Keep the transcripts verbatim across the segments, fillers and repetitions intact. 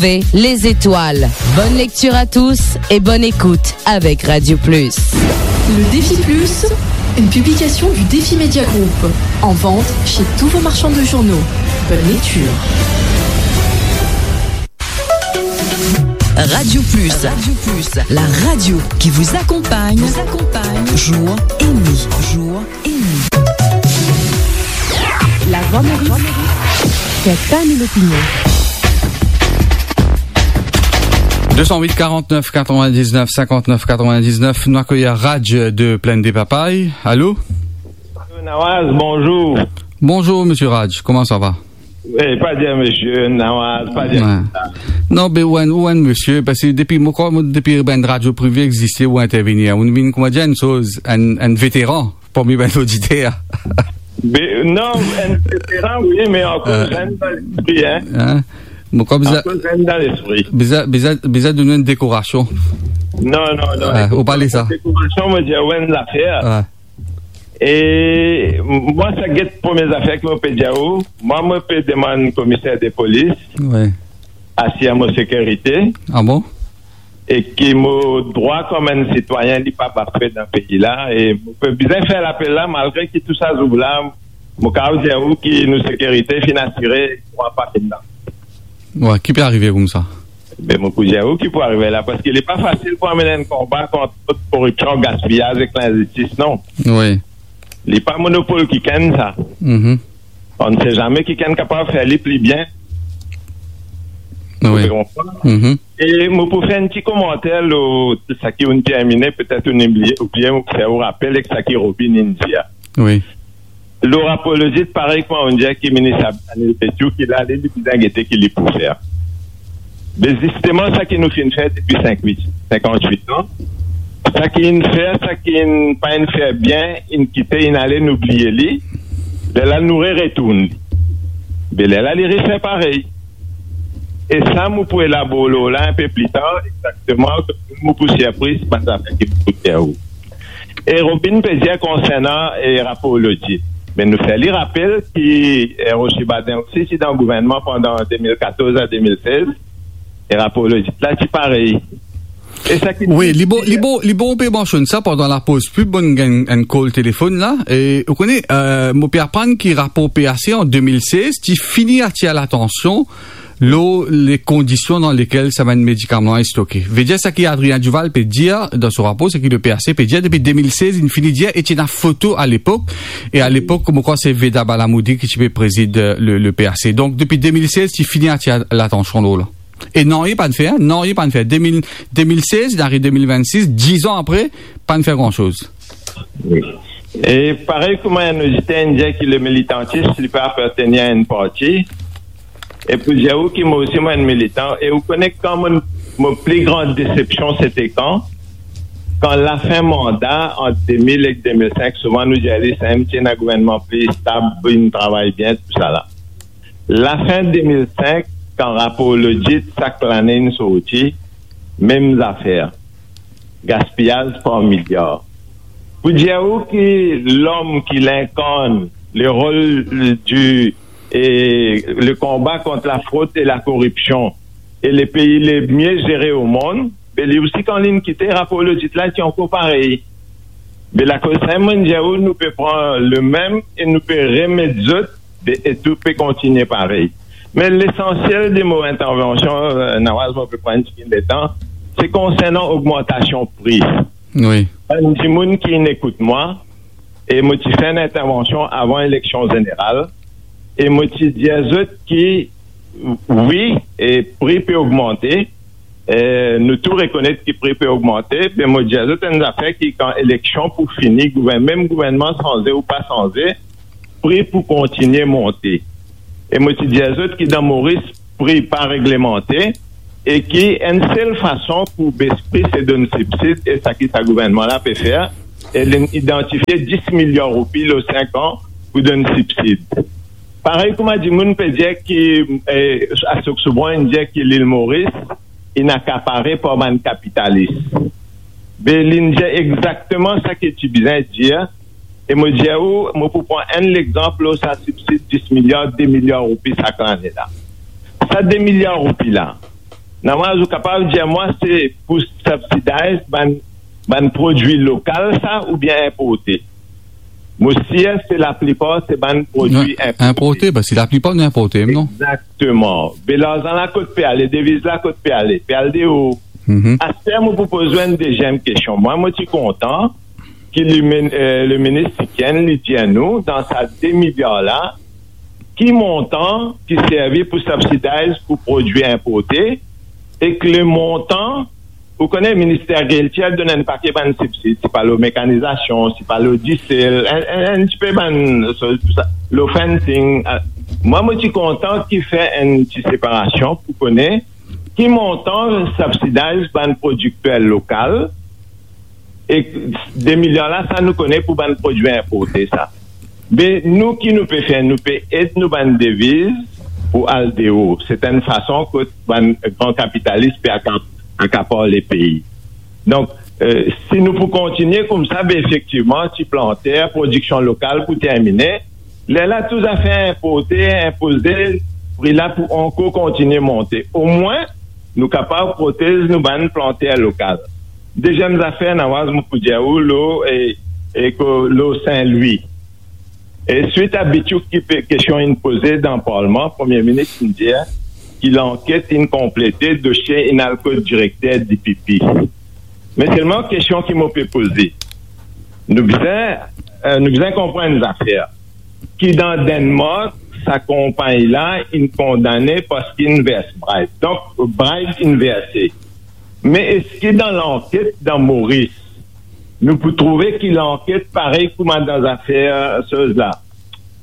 Les étoiles. Bonne lecture à tous et bonne écoute avec Radio Plus. Le Défi Plus, une publication du Défi Média Group, en vente chez tous vos marchands de journaux. Bonne lecture. Radio Plus. Radio Plus, la radio qui vous accompagne, vous accompagne, jour et nuit, jour et nuit. La Voix Maurice, c'est ta mille opinions. Deux cent huit, quarante-neuf, quatre-vingt-dix-neuf, cinquante-neuf, quatre-vingt-dix-neuf, nou akeyi Raj de Plaine des Papayes. Allô ? Nawaz, bonjour. Bonjour, monsieur Raj, comment ça va ? Eh, pa dir monsieur Nawaz, pa dir sa. Non, be ou enn, ou enn monsieur, parski depi, mo krwar, mo, depi bann radio privé existe, ou intervenir. Ou vinn, kouma dir, enn soz, enn, enn veteran parmi bann oditer. Be, non, enn veteran, wi, me ankor zenn dan lespri, hein. Hein ? Mo krwar bizin, ankor zenn dan lespri. Bizin, bizin, bizin donn enn dekorasion. Non, non, non. Ah, ou pa le sa. Dekorasion, mo dir, ou enn zafer. Ah. E mwa, sa get premie zafer ki mo pe dir ou. Mwa, mo pe demann komiser de polis, wi, asir mo sekirite. Ah bon ? E ki mo drwa kouma enn sitwayin, li pa bafwe dan pei la. E mo pe bizin fer lapel la, malgre ki tou sa zour la, mo kapav dir ou ki nou sekirite finn asire, drwa pa finn la. Wi, ki pe arive koumsa? Be, mo pou dir ou ki pou arive la, parski li pa fasil pou amenn enn konba kont koripsion, gaspiyaz ek linzistis, non. Wi. Li pa monopol kikenn sa. Mhm. On ne sait jamais kikenn kapav fer li pli bien. Wi. Ou konpran? Mhm. E mo pou fer enn ti komanter lor sa ki ou'nn termine, petet ou'nn bliye, oubien mo pou fer ou rapel ek sa ki Robin inn dir. Wi. Lor Rapolozit, parey kouma ou'nn dir ki minis Anil Petiot, ki la, li, li bizin gete ki li pou fer. Me zisteman, sa ki nou finn fer depi sink-, wit, sinkant-wit an, sa ki inn fer, sa ki inn pa inn fer bien, inn kite, inn ale, nou bliye li, lerla nou re retourn li. Me lerla li refer parey. E sa, mo pou elabor lor la enpe pli tar, exakteman, mo pou sirpriz, bann zafer ki mo pou dir ou. E Robin pe dir konsernan, e, Rapolozit. Me nou fer li rapel ki, e, Rocher Baden osi ti dan gouvernman pandan de mil katorz a de mil sez, e Rapolozit la ti parey. E sa ki... Wi, li bon, li bon, li bon pe mansionn sa pandan lapoz pib, bon, gagn enn kol telefonn la. E ou kone, e, mo pe aprann ki rapor P A C an de mil sez ti fini atir latansion lor le kondision dan lekel sa bann medikaman la stoke. Vedir sa ki Adrien Duval pe dir dan so rapor, se ki le P A C pe dir depi de mil sez, inn fini dir, e ti ena foto alepok, e alepok, mo krwar se Veda Balamoudi ki ti pe prezid, e, le, le P A C. Donk, depi de mil sez, ti fini atir latansion lor la. E nanye pa'nn fer, nanye pa'nn fer. De mil, de mil sez, inn ariv de mil vennsis, diz an apre, pa'nn fer gran soz. Wi. E parey kouma enn oditer inn dir ki le militantis, li pa apartenir a enn parti. E pou dir ou ki mo osi mo enn militan, e ou kone kan mo, mo pli gran desepsion, se te kan, kan lafin manda ant de mil ek de mil senk, souvan nou dir li, sa mem ti ena gouvernman pli stab, inn travay bien, tousala. Lafin de mil senk, kan rapor lodit sak lane inn sorti, mem zafer. Gaspiyaz par miliar. Pou dir ou ki lom ki li inkarn le rol di, e, le konba kont lafrod e lakoripsion, e le pei le mie zere o mond, be li osi, kan li'nn kite, rapor lodit la ti ankor parey. Be lakoz sa, mo'nn dir ou, nou pe pran le mem e nou pe remet zot, be, e tou pe kontigne parey. Me lesansiel de mo intervansion, e, Nawaz, mo pe pran enn tigit letan, se konsernan ogmantasion pri. Wi. Bann dimoun ki'nn ekout mwa, e mo ti fer enn intervansion avan eleksion zeneral, e mo ti dir zot ki, wi, e pri pe ogmante, e nou tou rekonet ki pri pe ogmante, me mo dir zot enn zafer ki kan eleksion pou fini, gouvern-, mem gouvernman sanze ou pa sanze, pri pou kontigne monte. E mo ti dir zot ki dan Moris, pri pa reglemante, e ki enn sel fason pou bes pri, se donn sibsid, e sa ki sa gouvernman la pe fer, e li'nn idantifie dis miliar roupi lor sink an pou donn sibsid. Parey kouma dimoun pe dir ki, e, Ashok Soubhan inn dir ki Lil Moris inn akapare par bann kapitalis. Be li'nn dir exakteman sa ki ti bizin dir, e mo dir ou, mo pou pran enn lexanp lor sa sibsid dis miliar, de miliar roupi sak lane la. Sa de miliar roupi la, Nawaz, ou kapav dir mwa se pou subsidize bann, bann prodwi lokal sa oubien inporte? Mo sir se laplipar se bann prodwi inporte. Inporte, parski laplipar nou inporte, non? Exactement. Be larzan la kot pe ale, deviz la kot pe ale? Pe al deor. Mhm. Aster mo pou poz ou enn deziem kestion. Mwa, mo ti kontan ki li min-, eh, le minis Tikenn, li dir nou, dan sa de miliar la, ki montan ki servi pou subsidize pou prodwi inporte, ek le montan, ou kone, Minister Guiltier donn enn pake bann sibsid, si pa lor mekanizasion, si pa lor disel, enn, enn, enn tipe bann, so, sa, lor fencing, eh, mwa, mo ti kontan ki fer enn ti separasion pou kone ki montan subsidize bann prodikter lokal, e de miliar la, sa nou kone pou bann prodwi inporte sa. Be nou, ki nou pe fer? Nou pe ed nou bann deviz pou al deor. Se enn fason kot bann gran kapitalis pe aka-, akapar lepei. Donk, eh, si nou pou kontinie koumsa, be efektivman, ti planter, prodiksion lokal pou termine, lerla tou zafer inporte, inpoze, pri la pou ankor kontinie monte. Omwin, nou kapav protez nou bann planter lokal. Deziem zafer, Nawaz, mo pou dir ou lor, e, e ko-, lor Sin Lwi. E swit a Bityouk ki pe, kestion inn poze dan parlman, Premie Minis inn dir ki lanket inn konplete, dosie inn al kot direkter D P P. Me selman kestion ki mo pe poze, nou bizin, eh, nou bizin konpran enn zafer, ki dan Denmark, sa konpagni la inn kondane parski inn vers bribe. Donk, bribe inn verse. Me eski dan lanket dan Moris, nou pou trouve ki lanket parey kouma dan zafer, eh, soz la,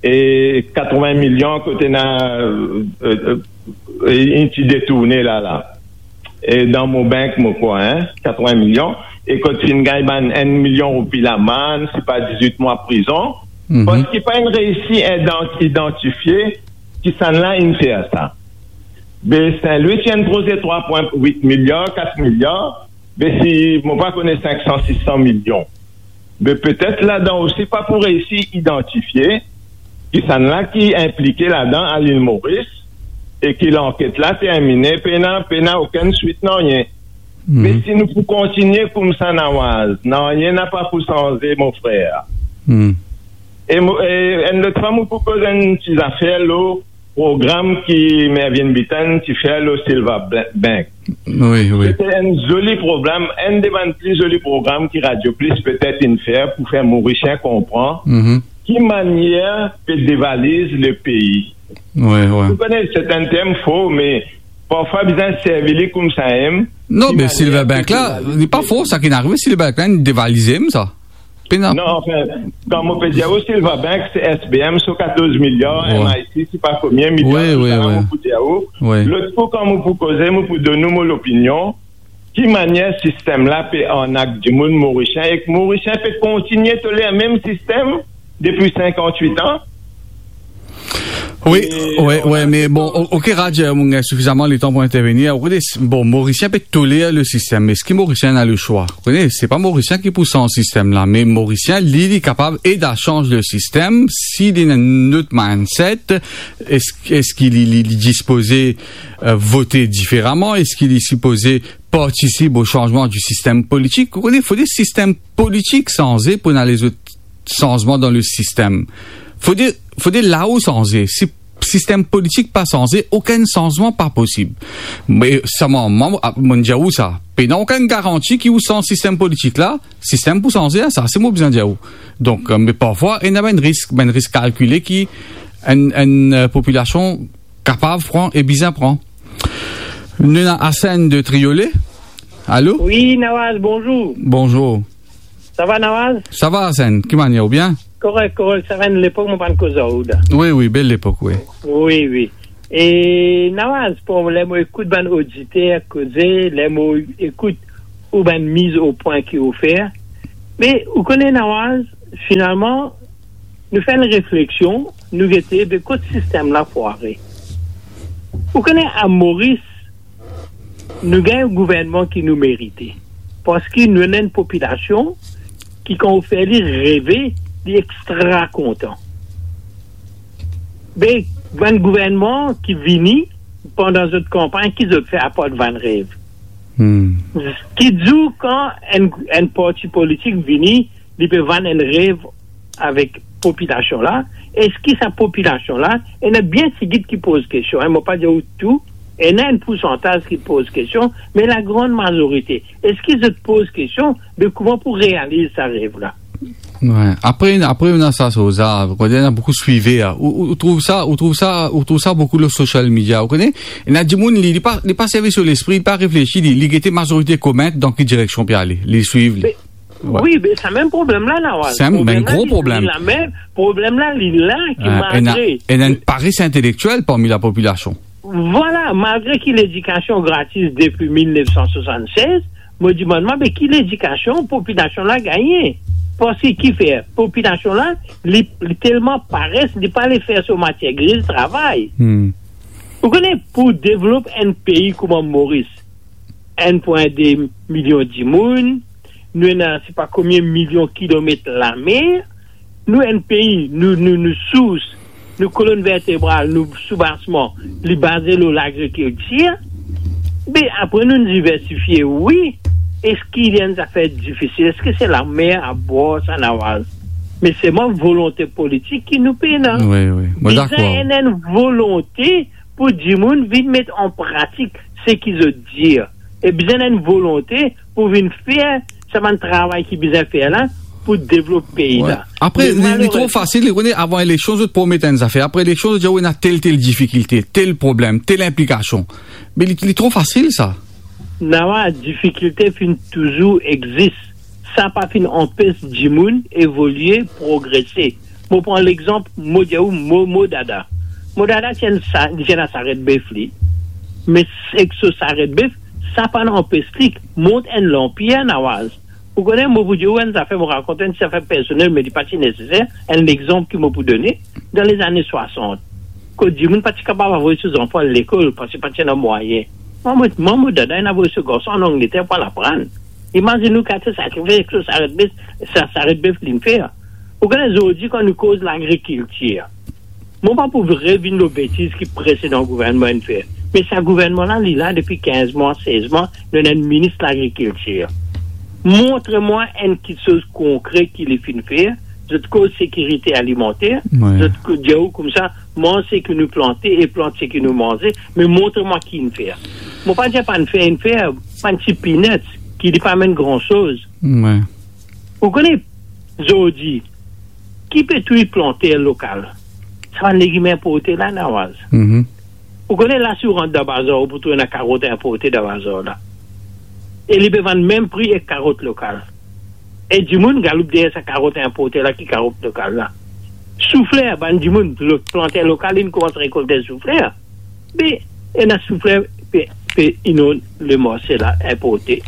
e katrovin milion kot ena, eh, eh, eh, inn ti detourne la, la. E dan mo bank, mo krwar, hein, katrovin milion, e kot finn gagn bann enn milion roupi lamann, se pa dizwit mwa prizon, mhm, parski pa inn reisi idan-, idantifie kisannla inn fer sa. Be Sin Lwi ti enn proze trwa pwin wit miliar, kat miliar, be si mo pa kone sink san, sis san milion. Me petet ladan osi pa pou reisi idantifie kisannla ki inplike ladan a Lil Moris, e ki lanket la termine, pena, pena okenn swit, nanye. Mhm. Me si nou pou kontinie koumsa, Nawaz, nanye napa pou sanze, mo frer. Mhm. E mo, e enn lot fwa, mo pou koz enn ti zafer lor program ki Mervyn Bitton ti fer lor Silva Bla-, Bank. Wi, wi. Sete enn zoli program, enn de bann pli zoli program ki Radio Plus petet inn fer pou fer Morisien konpran, mhm, ki manier pe devaliz lepei. Wi, wi. Ou kone, se enn term for, me parfwa bizin servi li koumsa mem. Non, ki me manier Silva Bank pe la, devaliz li pa lepei. For, sa ki arive, Silva Bank la, inn devalize mem sa. Pena. Non, anfin, kan mo pe dir ou, Silva Bank, se S B M, so katorz miliar, wi, M I C, se pa konbien miliar, wi, wi, sa la, wi, mo pou dir ou. Wi. Lot kou, kan mo pou koze, mo pou donn ou mo lopinion, ki manier sistem la pe arnak dimoun Morisien, ek Morisien pe kontinie toler mem sistem depi sinkantwit an. Wi, e wi, wi, me bon, o-, ok, Raj, mo gagn sifizaman letan pou intervenir. Ou kone, bon, Morisien pe toler le sistem, me eski Morisien ena le swa? Ou kone, se pa Morisien ki pou sanz sistem la, me Morisien, li, li kapav ed a sanz le sistem si li ena enn lot mindset. Eski, eski li, li, li dispoze, eh, vote diferaman? Eski li sipoze partisip o sanzman di sistem politik? Ou kone, fode sistem politik sanze pou ena lezot sanzman dan le sistem. Fode, fode lao sanze. Si sistem politik pa sanze, okenn sanzman pa posib. Me selman, mwa, mo, a, mo dir ou sa, pena okenn garanti ki ou sanz sistem politik la, sistem pou sanze, sa, se mo bizin dir ou. Donk, eh, me parfwa, ena bann risk, bann risk kalkile ki enn, enn, eh, popilasion kapav pran e bizin pran. Nou ena Hassan de Triolet. Alo? Wi, Nawaz, bonzour. Bonzour. Sa va, Nawaz? Sa va, Hassan. Ki manier, ou bien? Korek, korek. Sa va, enn lepok mo pa'nn koz ar ou la. Wi, wi, bel lepok, wi. Wi, wi. E Nawaz, bon, ler mo ekout bann oditer koze, ler mo ekout ou bann miz o pwin ki ou fer. Me ou kone, Nawaz, finalman, nou fer enn refleksion, nou gete, be kot sistem la fware. Ou kone, a Moris, nou gagn enn gouvernman ki nou merite. Parski nou ena enn popilasion ki, kan ou fer li reve, li extra kontan. Be, bann gouvernman ki vini, pandan zot kanpagn, ki zot fer apar vann rev? Hmm. Ki zour kan enn, enn parti politik vini, li pe vann enn rev avek popilasion la, eski sa popilasion la, ena bien tigit ki poz kestion, hein, mo pa dir ou tou, ena enn poursantaz ki poz kestion, me lagran mazorite, eski zot poz kestion de kouma pou realiz sa rev la? Wi. Apre, apre, ena sa, sa, sa, ou kone, ena boukou swiver, hein. Ou, ou, ou trouv sa, ou trouv sa, ou trouv sa boukou lor social media, ou kone? Ena dimoun, li, li pa, li pa servi so lespri, li pa reflesi, li, li gete mazorite koment, dan ki direksion pe ale, li swiv li. Me, wi, me sa mem problem la, Nawaz. Sa mem gro problem. Problem la, li la mem, problem la, li la, ki ena, malgre ena enn pares intelektiel parmi lapopilasion. Vwala, malgre ki ledikasion gratis depi mil nef san swasann-sez, mo dimann mwa, be ki ledikasion popilasion la gagne? Parski ki fer? Popilasion la, li, li telman pares, li pa le fer so matier gri travay. Hmm. Ou kone, pou devlop enn pei kouma Moris, enn pwin de milion dimoun, nou ena, se pa konbien milion kilomet lamer, nou enn pei, nou, nou, nou sours, nou kolonn vertebral, nou soubasman, li baze lor lagrikiltir. Me apre nou diversifie, wi. Eski li enn zafer difisil? Eski se lamer abor sa, Nawaz? Me selman volonte politik ki nou pena. Wi, wi. Mo dakor. Bizin enn, enn volonte pou dimoun vinn met an pratik seki zot dir. E bizin enn volonte pou vinn fer sa bann travay ki bizin fer la pou devlop pei la. Wi. Apre, me li, li tro fasil, li kone, avan eleksion, zot promet enn zafer. Apre eleksion, zot dir, "Wi, ena tel, tel difikilte, tel problem, tel inplikasion." Me li, li tro fasil, sa. Nawaz, difikilte finn touzour exis. Sa pa finn anpes dimoun evolie, progrese. Mo pran lexanp, mo dir ou, mo, mo dada. Mo dada ti enn sa-, ti ena saret bef li. Me ek so saret bef, sa pa'nn anpes li mont enn lanpir, Nawaz. Ou kone, mo pou dir ou enn zafer, mo rakont enn zafer personel, me li pa ti neseser, enn lexanp ki mo pou done, dan lezane swasant, kot dimoun pa ti kapav avoy so zanfan lekol, parski pa ti ena mwayin. Mwa, mo, mwa, mo dada inn avoy so garson an Angleter pou al aprann. Imazinn ou ki sakrifis ek so saret bef, sa, saret bef linn fer. Ou kone, zordi, kan nou koz lagrikiltir, mo pa pou revinn lor betiz ki presedan gouvernman inn fer. Me sa gouvernman la, li la depi kinz mwa, sez mwa, nou ena enn minis lagrikiltir. Montre mwa enn kiksoz konkre ki li finn fer. Zot koz sekirite alimanter, wi, zot ko-, dir ou koumsa, manz seki nou plante e plant seki nou manze, me montre mwa ki inn fer. Mo pa dir pa'nn fer, inn fer bann ti peanuts, ki li pa amenn gran soz. Wi. Ou kone, zordi, ki pe touy planter lokal? Sa bann legim inporte la, Nawaz. Mhm. Ou kone la, si ou rant dan bazar, ou pou trouv ena karot inporte dan bazar la. E li pe vann mem pri ek karot lokal. E dimoun galoup deryer sa karot inporte la ki karot lokal la. Soufler, bann dimoun, lo-, planter lokal, inn koumans rekolte soufler. Me ena soufler pe, pe inonn lemarse la, inporte.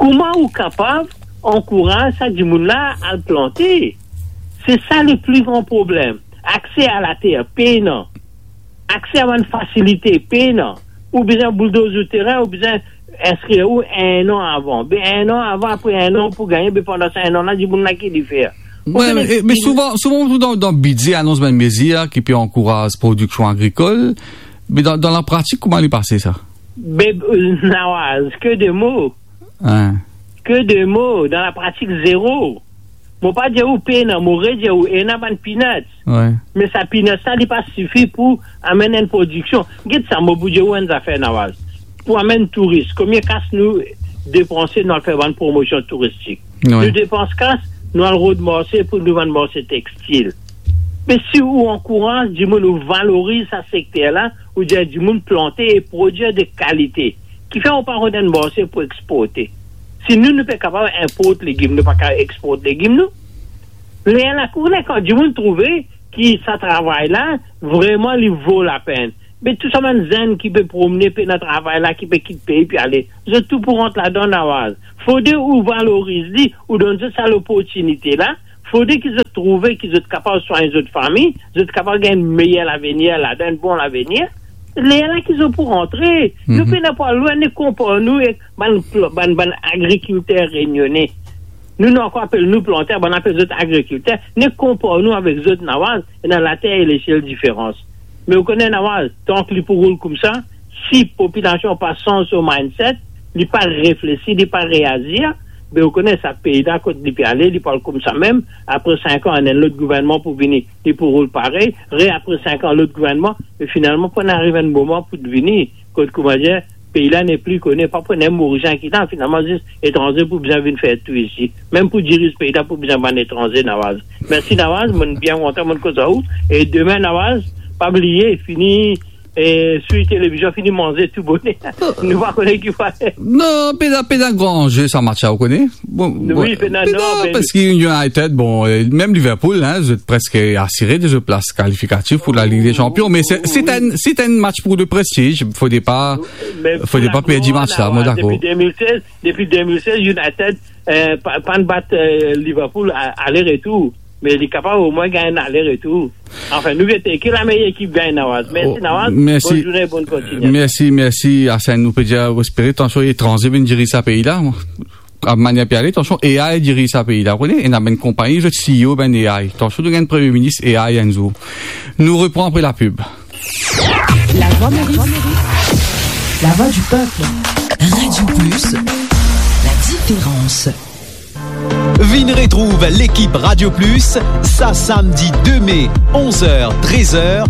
Kouma ou kapav ankouraz sa dimoun la al plante? Se sa le pli gran problem. Akse a later, pena. Akse a bann fasilite, pena. Ou bizin bouldoz ou terin, ou bizin inskrir ou enn an avan. Be enn an avan, apre enn an, ou pou gagne, be pandan sa enn an la, dimoun la ki li fer? Wi, me, me souvan, souvan, ou trouv dan, dan bidze, anons bann mezir ki pe ankouraz prodiksion agrikol, me dan, dan lapratik, kouma li pase sa? Be, euh, Nawaz, ke de mo. Hein. Ke de mo, dan lapratik, zero. Mo pa dir ou pena, mo redir ou, ena bann peanuts. Wi. Me sa peanuts la, li pa sifi pou amenn enn prodiksion. Get sa, mo pou dir ou enn zafer, Nawaz. Pou amenn touris, konbien kas nou depanse, nou al fer bann promosion touristik? Wi. Nou depans kas, nou al rod marse pou nou vann marse textil. Me si ou ankouraz dimoun, ou valoriz sa sekter la, ou dir dimoun plante e prodwir de kalite, kifer ou pa rod enn marse pou exporte? Si nou, nou pe kapav inport legim, nou pa kapav export legim nou? Lerla, kouma kan dimoun trouve ki sa travay la, vreman, li vo lapenn. Me tou sa bann zenn ki pe promne, pena travay la, ki pe kit pei, pe ale, zot tou pou rant ladan, Nawaz. Fode ou valoriz li, ou donn zot sa loportinite la. Fode ki zot trouve ki zot kapav swagn zot fami, zot kapav gagn meyer lavenir ladan, enn bon lavenir. Lerla ki zot pou rantre. Nou pena pou al lwin, nou konpar nou ek bann pl-, bann, bann agrikilter reynione. Nou, nou ankor apel nou planter, bann apel zot agrikilter. Nou konpar nou avek zot, Nawaz, ena later e lesiel diferans. Me ou kone Nawaz, tank li pou roul koumsa, si popilasion pa sanz so mindset, li pa reflesi, li pa reazir, be ou kone sa pei la kot li pe ale, li pou al koumsa mem. Apre sink an, enn lot gouvernman pou vini, li pou roul parey, re apre sink an, lot gouvernman, e finalman pou ena ariv enn moman pou vini kot, koumadir, pei la nepli kone, pa pou ena Morisien ki la, finalman zis etranze pou bizin vinn fer tou isi. Mem pou diriz pei la pou bizin bann etranze, Nawaz. Mersi Nawaz, mo bien kontan mo koz ar ou. E demin Nawaz, pa bliye, fini, e, swiv televizion, fini manze tou boner. Nou pa kone ki pou ale. Non, pena, pena gran anze sa match la, ou kone. Bon, wi, bon, pena, pena, non, me parski United, bon, e, mem Liverpool, hein, zot preske asire de zot plas kalifikatif pou la Ligue des Champions, me se, se enn, se enn match pou le prestij, fode pa, fode pa perdi match la, mo dakor. Depi de mil sez, depi de mil sez, United, e, pa, pa'nn bat, e, Liverpool a-, ale-retour. Me li kapav omwin gagn ale-retour. Anfin, nou gete ki lameyer ekip gagn, Nawaz. Mersi, Nawaz. Mersi. Bonn zourne, bonn kontinyasyon. Mersi, mersi, Arsène. Nou pe dir, espere, tansion etranze vinn diriz sa pei la. A manier pe ale, tansion, A I diriz sa pei la. Ou kone, ena bann konpagni, zot C E O, bann A I. Tansion, nou gagn Premie Minis A I enn zour. Nou repran apre lapib. La Voix Maurice. La voix du peuple. Radio Plus, la différence. Vinn retrouv lekip Radio Plus, sa samdi de me, onz er, trez er,